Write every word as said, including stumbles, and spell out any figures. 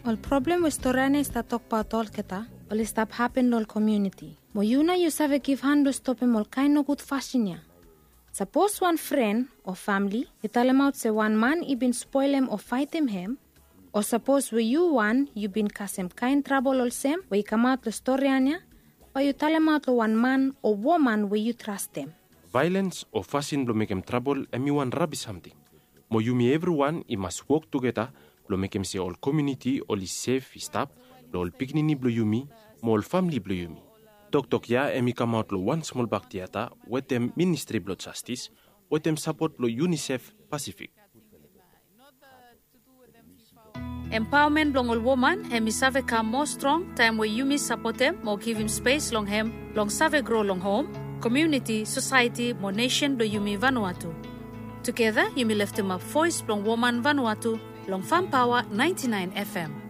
Ol problem we storian ya i stap tokbaot olgeta, oli stap hapen long ol komuniti. Mo yu nao yu save givhan blong stopem ol kaen nogud fasin ya. Sapos wan fren o famle i talemaot se wan man i bin spolem o faetem hem, o sapos we yu wan yu bin kasem kaen trabol olsem we i kamaot long storian ya, bae yu talemaot long wan man o woman we yu trastem. Vaelens o fasin blong mekem trabol hem i wan rabis samting. Mo yumi evriwan i mas wok tugeta blong mekem se ol komuniti oli sef i stap blong ol pikinini blong yumi mo ol famle blong yumi. Toktok ya hem i kamaot long wan smol bak tiata wetem Ministri blong Jastis wetem sapot blong UNICEF Pasifik. Empaomen blong ol woman hem i save kam moa strong taem we yumi sapotem mo givim spes long hem blong save gro long hom, komuniti, sosaeti mo nesen blong yumi Vanuatu. Tugeta yumi leftemap voes blong woman Vanuatu long Fam Paoa naenti naen FM.